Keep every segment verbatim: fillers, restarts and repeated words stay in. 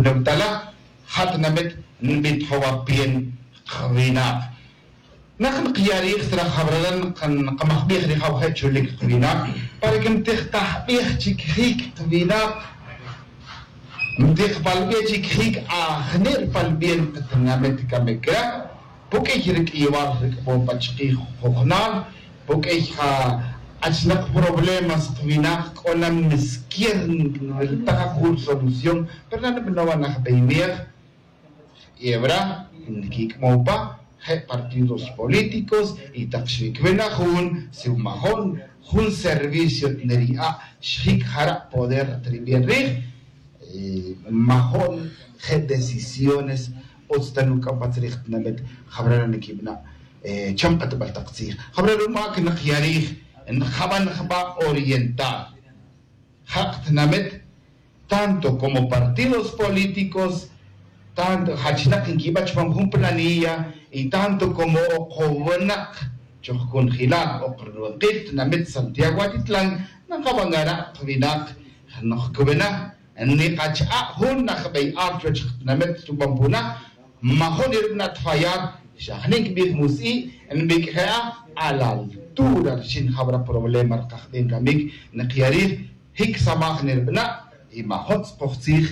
Tala, Hatnamet Nbit Hawapien Qvinaq. نحن قياريخ ترى خبرنا قمخبيخ ريخ وخيت شو لك قوينا para que متخ تحبيخ تشيك قوينا متخ بالبيت تشيك آخنير بالبين قتنامت كمكرا بوكي رك إيوار رك بوم بتشقي خخنال بوكي خا أشنق problemas قوينا كنا مسكين التقى solución pero no no van a pedir يبرا نكيك موبا partidos políticos y taxvikvenajun siumajón jun servicio neria shik jara poder tribienrij majón je decisiones otstanuka patrij namet jabrana nikibna chamqat baltaqtsij jabrana mak naqyarij njaban jba oriental jaqt namet tanto como partidos políticos tanto hachnak inkibach jun planilla y tanto como oqobunak choqkunjilal oqrunqit namet Santiago Atitlán naqabangara qvinak noqkubena niqach a jun naqbay archoch namet tupampuna majón irbnat fallar shahnik bih musi nbikha a la altura shin habra problema rqaxdin kamik naqyarir hik samaj nirbna y majot qoqtzij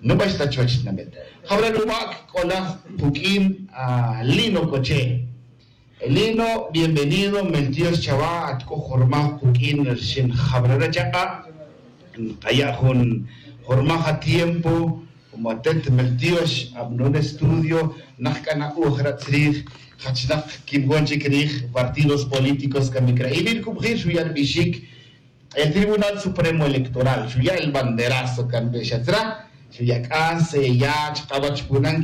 no basta chuach namet. Habra lumak kola pukim a Lino Coche. Lino, bienvenido, mentios chava atko jorma pukim shin habra chaqa kaya jun jorma a tiempo como atent meltios abnon estudio nakana ujra trij hachnak kimgonchi krij partidos políticos kamikra ibir kubjir shuyar bishik el Tribunal Supremo Electoral shuya el banderazo kan beshatra. Suyakase ya chqabach punan